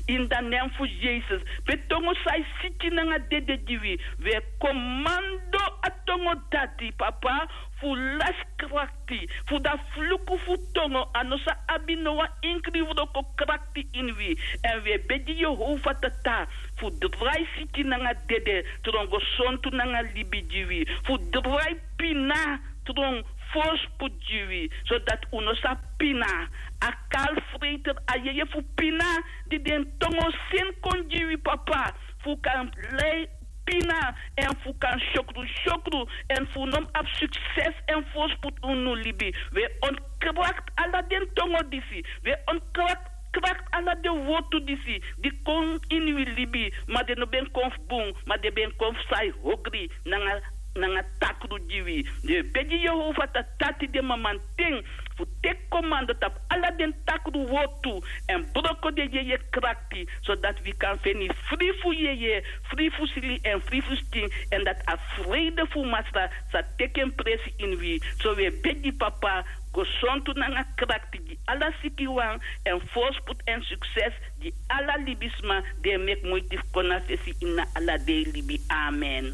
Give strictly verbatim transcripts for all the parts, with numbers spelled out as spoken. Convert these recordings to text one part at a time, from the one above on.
In dan nen fu Jesus, pe tongo sai siti nanga dede gi wi. We komando a tongo dati, papa, fu lasi krakti, fu da fluku fu tongo a no sa abi no wan inkri wroko krakti ini wi. Èn we begi Yehova Tata fu drai siti nanga dede tron gesontu nanga libi gi wi, fu drai pina tron forsput gi wi, sodati un no sa pina. A kalfreiter, a yeye fu pina di den tongo seni kon gi wi, papa, fu kan lei pina èn fu kan syokru syokru èn fu no mus abi sukses èn forsput unu libi. We ontkrakti ala den tongo disi. We ontkrakti ala den wortu disi di kon ini wi libi, ma den no ben kon fu bun, ma den ben kon fu sai hogri nanga nanga takru gi wi. Den e begi Yehova Tata tide mamanten fu teki komando tapu ala den takru wortu èn broko den yeye krakti, sodati wi kan feni fri fu yeye, fri fu sili èn fri fu skin, èn dati a freide fu Masra sa teki en presi ini wi. So wi e begi, papa, gesontu nanga krakti gi ala sikiwan èn forsput èn sukses gi ala libisma di e meki muiti fu kon na fesi ini a ala dei libi. Amen.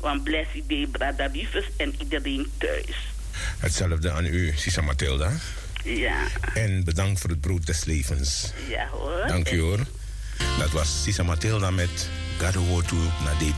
Wan blessed day, brada Rufus en iedereen thuis. Hetzelfde aan u, Sisa Matilda. Ja. En bedankt voor het brood des levens. Ja hoor. Dank u hoor. Dat was Sisa Matilda met Gado Wotu na D B.